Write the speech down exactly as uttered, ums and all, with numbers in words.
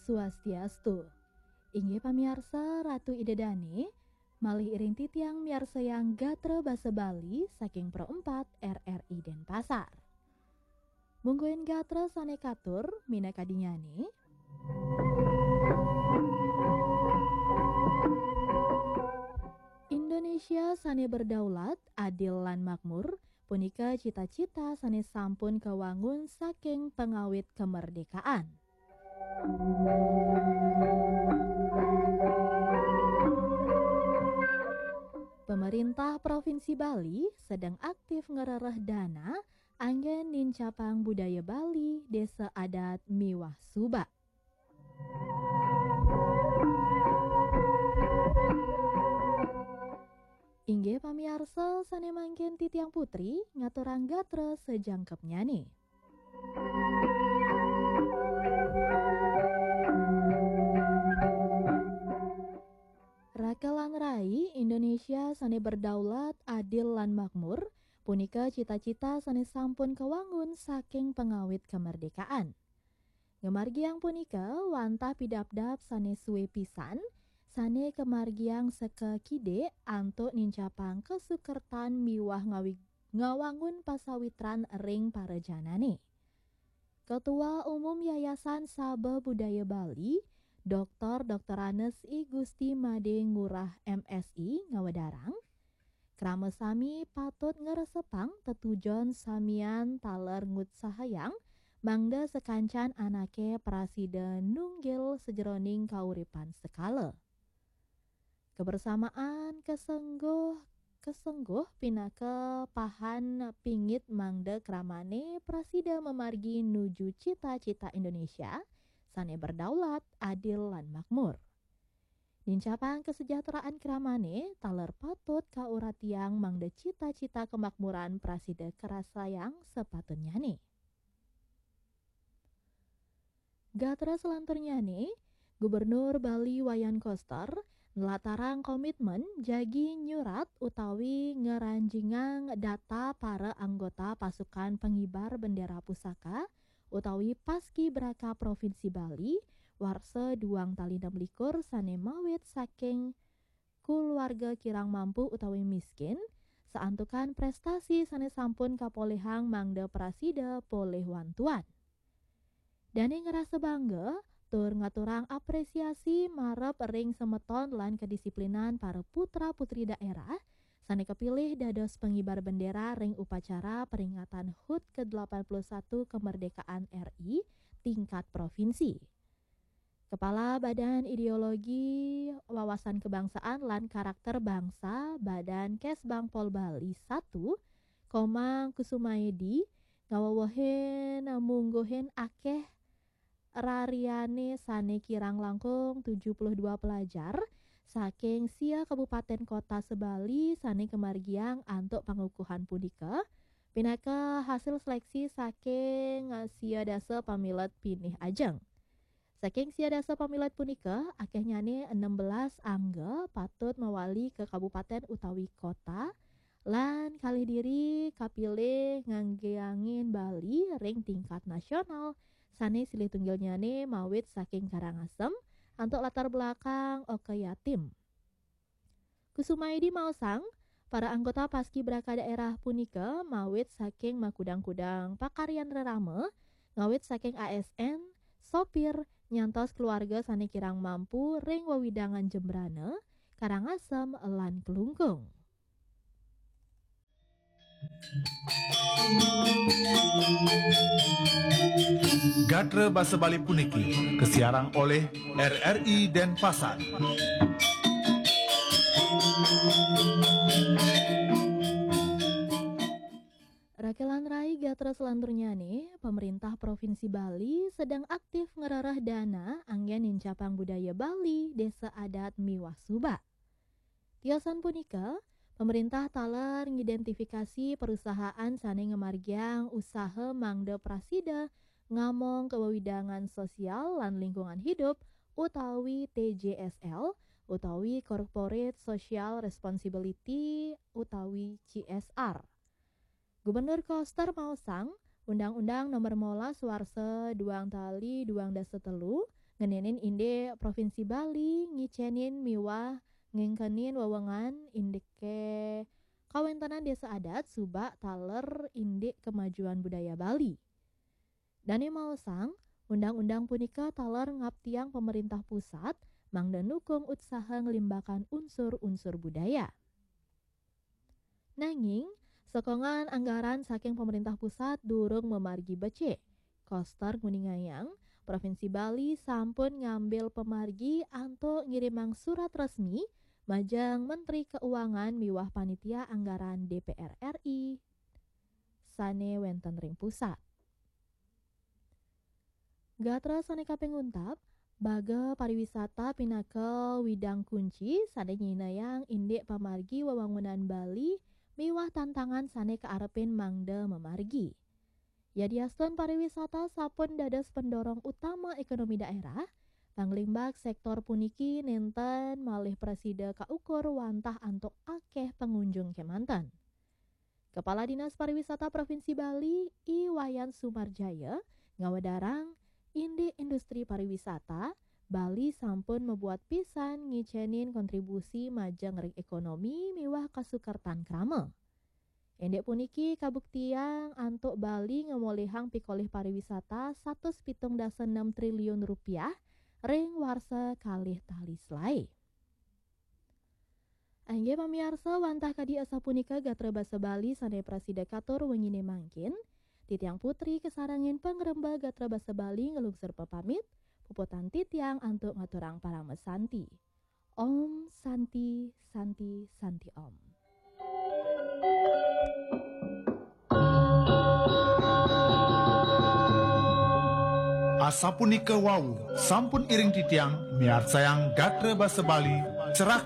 Swastiastu. Inggih pamiarsa, Ratu Ida Dane, malih iring titiang miarsayang gatra basa Bali saking Pro empat R R I Denpasar. Mungguing gatra sane katur minakadinyane. Indonesia sane berdaulat, adil lan makmur, punika cita-cita sane sampun kawangun saking pangawit kemerdekaan. Pemerintah Provinsi Bali sedang aktif ngrereh dana anggen nincapang budaya Bali, desa adat miwah suba. Inggih pamiarsa, sane mangkin titiang putri ngaturang gatra sajangkepnyane. Raka lan rai, Indonesia sane berdaulat, adil lan makmur, punika cita-cita sane sampun kawangun saking pangawit kemerdekaan. Ngamargiang punika wantah pidabdab sane suwe pisan, sane kamargiang saka kidik antuk nincapang kasukertan miwah ngawi-, ngawangun pasawitran ring para janane. Ketua Umum Yayasan Saba Budaya Bali, Doktor Doktoranes I Gusti Made Ngurah M Si ngawedarang, krama sami patut ngresepang tetujon samian taler ngutsahayang mangda sakancan anake prasida nunggil sajeroning kauripan sekala. Kebersamaan kesengguh, kesengguh pinaka pahan pingit mangda kramane prasida mamargi nuju cita-cita Indonesia sane berdaulat, adil, lan makmur. Nincapang kesejahteraan kramane taler patut kauratiang mangda cita-cita kemakmuran prasida karasayang sapatutnyane. Gatra selanturnyane, Gubernur Bali Wayan Koster nlatarang komitmen jagi nyurat utawi ngranjingang data para anggota pasukan pengibar bendera pusaka utawi Paskibraka Provinsi Bali warsa duang tali enam likur sane mawit saking kuluarga kirang mampu utawi miskin, saantukan prestasi sane sampun kapolihang mangda prasida polih wantuan. Dane ngrasa bangga tur ngaturang apresiasi marep ring semeton lan kedisiplinan para putra-putri daerah sane kapilih dados pengibar bendera ring upacara peringatan hut kedelapan puluh satu kemerdekaan R I tingkat provinsi. Kepala Badan Ideologi Wawasan Kebangsaan lan Karakter Bangsa, Badan Kesbangpol Bali satu, Komang Kusumaedi, ngawewehin mungguhin akeh rariane sane kirang langkung tujuh puluh dua pelajar saking sia kabupaten kota se-Bali sane kamargiang antuk pangukuhan punika, pinaka hasil seleksi saking sia dasa pamilet pinih ajeng. Saking sia dasa pamilet punika, akehnyane enam belas angga patut mawali ka kabupaten utawi kota, lan kalih diri kapilih nganggiangin Bali ring tingkat nasional, sane silih tunggilnyane mawit saking Karangasem, antuk latar belakang Oka Yatim. Kusumaedi maosang, para anggota Paskibraka daerah punika mawit saking makudang-kudang pakaryan rerama, ngawit saking A S N, sopir, nyantos keluarga sane kirang mampu ring wewidangan Jembrana, Karangasem, lan Klungkung. Gatra basa Bali puniki kasiarang olih R R I Denpasar. Raka lan rai, gatra selanturnyane, pemerintah Provinsi Bali sedang aktif ngrereh dana anggen nincapang budaya Bali, desa adat miwah suba. Tiosan punika, pemerintah taler ngidentifikasi perusahaan sane ngamargiang usaha mangda prasida ngamong kawewidangan sosial lan lingkungan hidup utawi T J S L utawi Corporate Social Responsibility utawi C S R. Gubernur Koster maosang, Undang-Undang Nomor molas warsa duang tali duang dasa telu ngenenin indik Provinsi Bali ngicenin miwah ngengkenin wewengan indike kawentenan desa adat subak taler indik kemajuan budaya Bali. Dane maosang, undang-undang punika taler ngaptiang pemerintah pusat mangda nukung utsaha nglimbakan unsur-unsur budaya. Nanging, sokongan anggaran saking pemerintah pusat durung mamargi becik. Koster nguningayang, Provinsi Bali sampun ngambil pamargi antuk ngirimang surat resmi majeng Menteri Keuangan miwah Panitia Anggaran D P R R I sane wenten ring pusat. Gatra sane kaping untap, baga pariwisata pinaka widang kunci sane nyinayang indik pamargi wewangunan Bali miwah tantangan sane kaarepin mangda mamargi. Yadiastun pariwisata sampun dados pendorong utama ekonomi daerah, panglimbak sektor puniki nenten malih prasida kaukur wantah antuk akeh pengunjung kemanten. Kepala Dinas Pariwisata Provinsi Bali, I Wayan Sumarjaya, ngawedarang indik industri pariwisata, Bali sampun mabuat pisan ngicenin kontribusi majeng ring ekonomi miwah kasukertan krama. Indik puniki kabuktiang antuk Bali ngamolihang pikolih pariwisata satus pitung dasa enam triliun rupiah ring warsa kalih tali selae. Inggih pamiarsa, wantah kadi asapunika gatra basa Bali sane prasida katur wengine mangkin. Titiang Putri kasarengin pangremba gatra basa Bali nglungsur pepamit, puputang titiang antuk ngaturang parama santi. Om Santi, Santi, Santi Om. Asapunika wau, sampun iring titiang miarsayang gatra basa Bali, cerah